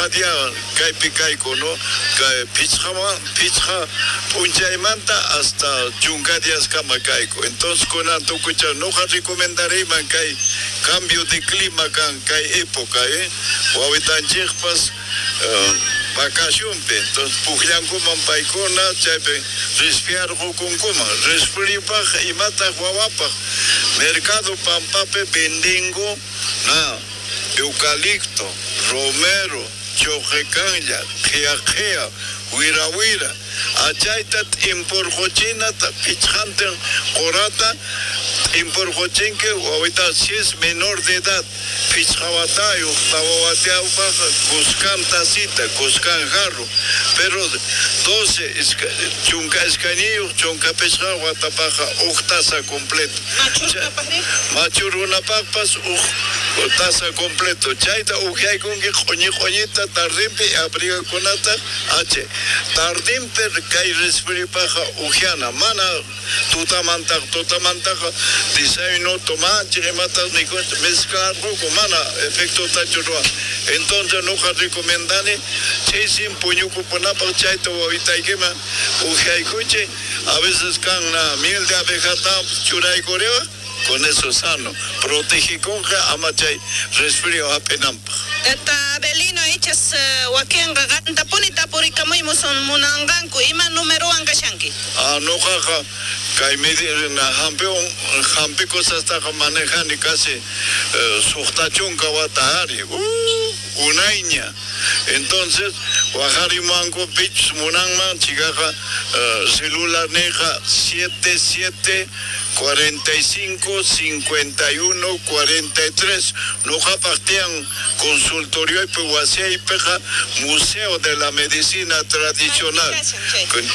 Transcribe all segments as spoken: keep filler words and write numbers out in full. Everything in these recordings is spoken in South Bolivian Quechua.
Pichqa día kaypi kayku, no? Kay pichqa pichqa p'unchaymanta hasta chunka diaskama kayku. Entonces kunan tukucha noqa recomendariyman kay cambio de clima kan kay época, eh? Wawitanchikpas uh, vacacionpi, entonces pukllankuman paykuna chaypi resfriarqukunkuman. Resfriopaj imataq wawapaj mercado pampapi vendengo na eucalipto, romero, choqekanlla, qhiya qhiya, wira wira, achayta t'imporqochinata pichqantin qurata t'imporqochinki wawita si es menor de edad pichqa watayuq tawa watayuqpaq kuskan tacita, kuskan jarro, pero doce chunka iskayniyuq chunka pichqa watapaqqa huk taza completo. Machu runapaqpas huk taza completo. Chayta ukyaykunki q'uñi q'uñita tardinpi abrigakunata h tardinpi kay resfriopaqqa ukyana mana tutamantaq tutamantaqa desayuno tomanchik imatas mikunchik mezclarqunku mana efectotachu ruwan. Entonces noqa recomendani ch'isin puñukupunapaq chayta wawitaykiman ukyaykuchik a veces kan miel de abejata churaykuriwaq con eso sano protegikunqa ama chay resfrío hap'inanpaq. Tata Abelino ichas wakinqa qantapuni tapurikamuymusun munanqanku ima numerowan kashanki? Ah, noqaqa kay medicina hampiwan hampi cosastaqa manejani casi suqta chunka wata ari uh, unayña. Entonces waqarimanku pichus munanman chikaqa uh, celular niqa siete siete cuarenta y cinco cincuenta y uno cuarenta y tres. Noqapaq tiyan consultorioypi wasiypiqa Museo de la Medicina Tradicional.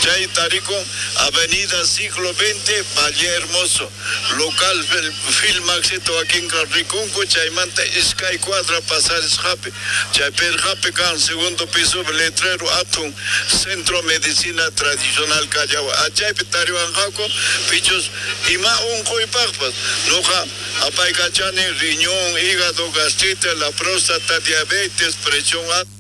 Chay tarikun Avenida Siglo veinte, Valle Hermoso. Local Filmaxito wakinqa rikunku chaymanta iskay cuadra pasarisqapi. Chay pirqapi kan segundo piso letrero atun Centro Medicina Tradicional Callao. Achaypi tariwanqaku pichus ima unquypaqpas. Noqa apaykachani riñón, hígado, gastritis, la próstata, diabetes, presión alta.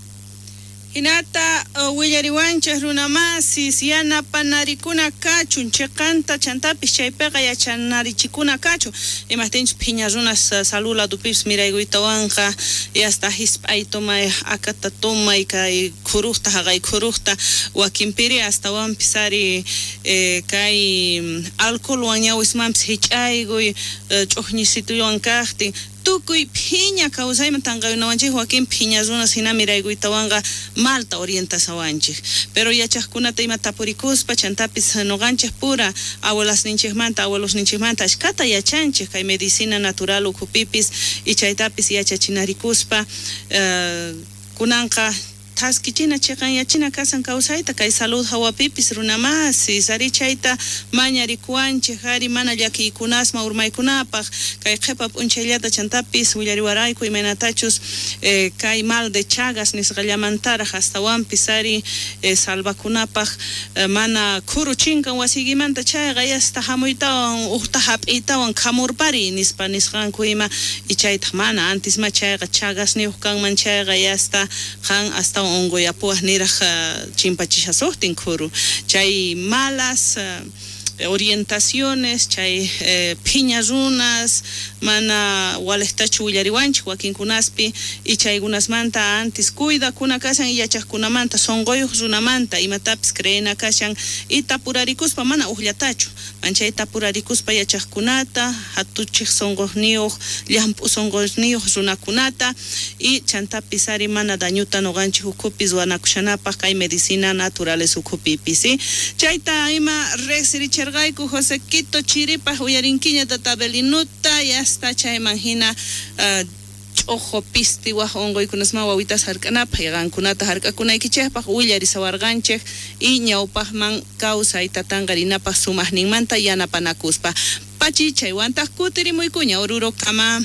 Hinata uh, willariwanchik runamasis yanapanarikuna kachun chiqanta chantapis chaypiqa yachanarichikuna kachun imaqtinchus phiña runas uh, salud ladupipis miraykuytawanqa yasta hisp'ay tomay akata tomay kay khuruqta haqay khuruqta wakinpiri astawanpis ari eh, kay alcoholwan ñawismanpis hich'aykuy uh, ch'uqñisituywan kaqtin tukuy phiña kawsayman tanqayunawanchik wakin phiña runas hina miraykuytawanqa malta orientasawanchik pero yachaqkunata ima tapurikuspa chantapis noqanchik pura abuelasninchikmanta abuelosninchikmanta ashkata yachanchik kay medicina natural ukhupipis y chaytapis yachachinarikuspa uh, kunanqa thaskichina chiqanyachina kasan kawsayta kay salud hawapipis runamasis ari chayta mañarikuwanchik ari mana llakiykunasma urmaykunapaq kay qhipa p'unchayllata chantapis willariwarayku imaynatachus eh, kay mal de Chagas nisqallamantaraq astawanpis ari eh, salvakunapaq eh, mana khuru chinkan wasiykimanta chayqa yasta hamuytawan uqta hap'iytawan khamurpari nispa nisqanku ima y chaytaq mana antisma chayqa Chagasniyuq kanman chayqa yasta qan astawan unquyapuwaq niraq uh, chimpachishasuqtin khuru chay malas uh, orientaciones chay eh, phiña runas mana walejtachu willariwanchik wakinkunaspi y chaykunasmanta antis cuidakuna kashan y yachaqkunamanta sunquyuq runamanta imatapis creena kashan y tapurarikuspa mana uqllatachu manchay tapurarikuspa yachaqkunata hatuchik sunquqniyuq llamp'u sunquqniyuq runakunata y chantapis ari mana dañuta nuqanchik ukhupi ruwanakushanapaq kay medicina naturales ukhupipis ¿sí? Chayta ima riqsiricherqayku José Quito chiripaq uyarinkiña tata Abelinuta y hasta chayman hina uh, ch'uqu pisti waj unquykunasman wawitas hark'anapaq y qankunata hark'akunaykichikpaq willarisawarqanchik y ñawpaqman kawsayta tanqarinapaq sumaqninmanta yanapanakuspa pachi chaywantaq kutirimuykuña Orurokama.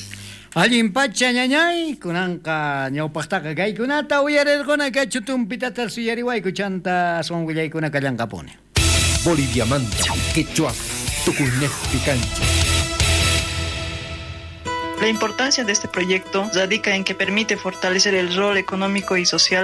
Allin pacha ñañay kunanqa ñawpaqtaqa kaykunata uyarirquna kachu tumpitata suyariwayku chanta aswan willaykuna kallanqapuni. Boliviamanta, quechua, tukuynejpi kanchik. La importancia de este proyecto radica en que permite fortalecer el rol económico y social